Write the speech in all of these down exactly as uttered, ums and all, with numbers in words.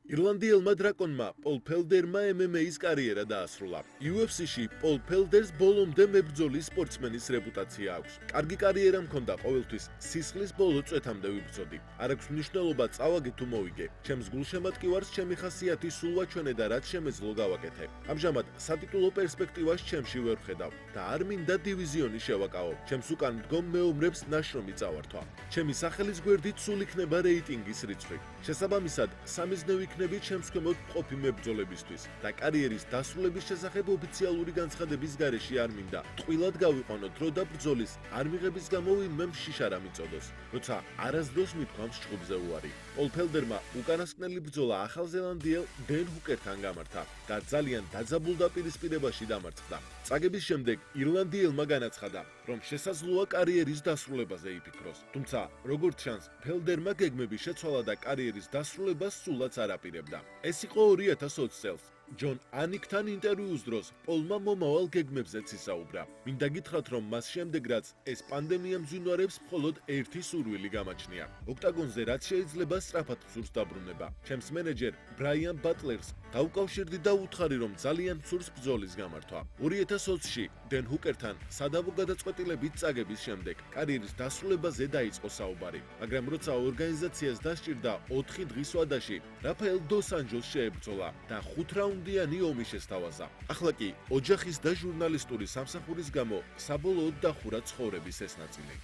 ირლანდიელმა დრაკონმა პოლ ფელდერმა ემ ემ ეის კარიერა დაასრულა. იუ ეფ სი-ში პოლ ფელდერს ბოლომდე მებრძოლის სპორტსმენის რეპუტაცია აქვს. კარგი კარიერა მქონდა, ყოველთვის სისხლის ბოლო წვეთამდე ვიბრძოდი. არ აქვს მნიშვნელობა წავაგე თუ მოვიგე. ჩემს გულშემატკივარს ჩემი ხასიათი სულ ვაჩვენე და რაც შემეძლო გავაკეთე. ამჟამად სატიტულო პერსპექტივას ჩემში ვერ ვხედავ და არ მინდა დივიზიონი შევაკავო. ჩემს უკან მდგომ მეომრებს ნაშრომი წავართვა. ჩემი სახელის გვერდით სულ იქნება რეიტინგის რიცხვი. შესაბამისად, სამიზნევი იქნები ჩემს ქვემოთ მყოფი მებრძოლებისთვის და კარიერის დასრულების შესახებ ოფიციალური განცხადების გარეშე არ მინდა. ტყუილად გავიყვანო დრო და ბრძოლის არ მიღების გამო ვინმე შიშარა მიწოდოს, როცა არასდროს მithქვამს ჭუბზე უარი. პოლ ფელდერმა უკანასკნელი ბრძოლა ახალ ზელანდიელ დენ ჰუკერთან გამართა და ძალიან დაძაბულდაპირისპირებაში დამარცხდა. წაგების შემდეგ ირლანდიელმა განაცხადა, რომ შესაძლოა კარიერის დასრულებაზე იფიქროს. თუმცა, როგორც ჩანს, ფელდერმა გეგმები შეცვალა და კარიერის დასრულებას სულაც არ აპირებდა. ეს იყო ორი ათას ოცი წელს. ჯონ ანიკთან ინტერვიუს დროს პოლმა მომავალ გეგმებზეც ისაუბრა. მინდა გითხრათ, რომ მას შემდეგ რაც ეს პანდემია მძვინვარებს მხოლოდ ერთი სურვილი გამაჩნია. ოქტაგონზე რაც შეიძლება სწრაფად მსურს დაბრუნება. ჩემს მენეჯერ ბრაიან ბატლერს დავუკავშირდი და უთხარი, რომ ძალიან მსურს ბრძოლის გამართვა. ორი ათას ოცი-ში დენ ჰუკერთან სადავო გადაწყვეტილებით წაგების შემდეგ კარიერის დასრულებაზე დაიწყო საუბარი, მაგრამ როცა ორგანიზაციას დასჭირდა ოთხი დღის ვადაში, რაფაელ დოს ანჯელს შეებრძოლა და ხუთ რაუნდიანი ომი შესთავაზა. ახლა კი ოჯახის და ჟურნალისტური სამსახურის გამო საბოლოოდ დახურა ცხოვრების ეს ნაწილი.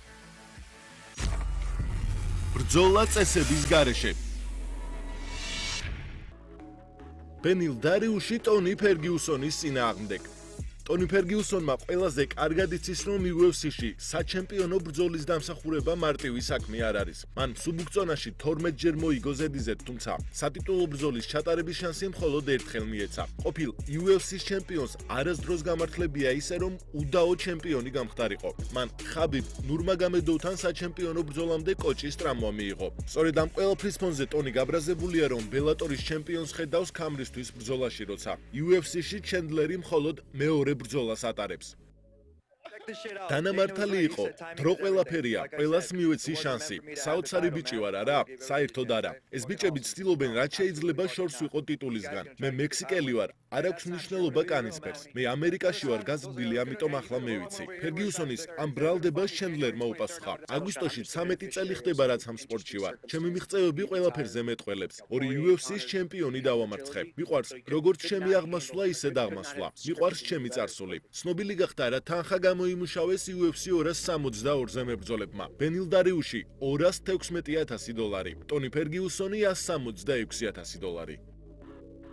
ბრძოლა წესების გარეშე. ბენილ დარიუში ტონი ფერგიუსონის წინააღმდეგ. ტონი ფერგიუსონმა ყველაზე კარგად იცის, რომ იუ ეფ სი-ში საჩემპიონო ბრძოლის დამსახურება მარტივი საქმე არ არის. მან სუბუქწონაში თორმეტჯერ მოიგო ზედიზედ, თუმცა სატიტულო ბრძოლის ჩატარების შანსი მხოლოდ ერთხელ მიეცა. ყოფილ იუ ეფ სი-ის ჩემპიონს არასდროს გამართლებია ისე, რომ უდაო ჩემპიონი გამხდარიყო. მან ხაბიბ ნურმაგომედოვთან საჩემპიონო ბრძოლამდე კოჭის ტრამვა მიიღო. სწორედ ამ ყველაფრის ფონზე ტონი გაბრაზებულია, რომ ბელატორის ჩემპიონს ხედავს ქამრისთვის ბრძოლაში, როცა იუ ეფ სი-ში ჩენდლერი მხოლოდ მეორე ბრძოლას ატარებს. დანამართალი იყო, დრო ყველაფერია, ყველას მივეცი შანსი. საოცარი ბიჭი ვარ, არა? საერთოდ არა. ეს ბიჭები ცდილობენ რაც შეიძლება შორს ვიყო ტიტულისგან. მე მექსიკელი ვარ, არ აქვს მნიშვნელობა კანისფერს. მე ამერიკაში ვარ გაზრდილი, ამიტომ ახლა მე ვიცი. ფერგიუსონის ამ ბრალდებას ჩენდლერმა უპასუხა. აგვისტოში ცამეტი წელი ხდება რაც ამ სპორტში ვარ. ჩემი მიღწევები ყველაფერზე მეტყველებს. ორი იუ ეფ სი-ის ჩემპიონი დავამარცხე. მიყვარს როგორც ჩემი აღმასვლა, ისე დაღმასვლა. მიყვარს ჩემი წარსული. ცნობილი გახდა რა თანხა გამოიმუშავეს იუ ეფ სი ორას სამოცდაორზე მებრძოლებმა. ბენილ დარიუში ორას თექვსმეტი ათასი დოლარი. ტონი ფერგიუსონი ასს სამოცდაექვსი ათასი დოლარი.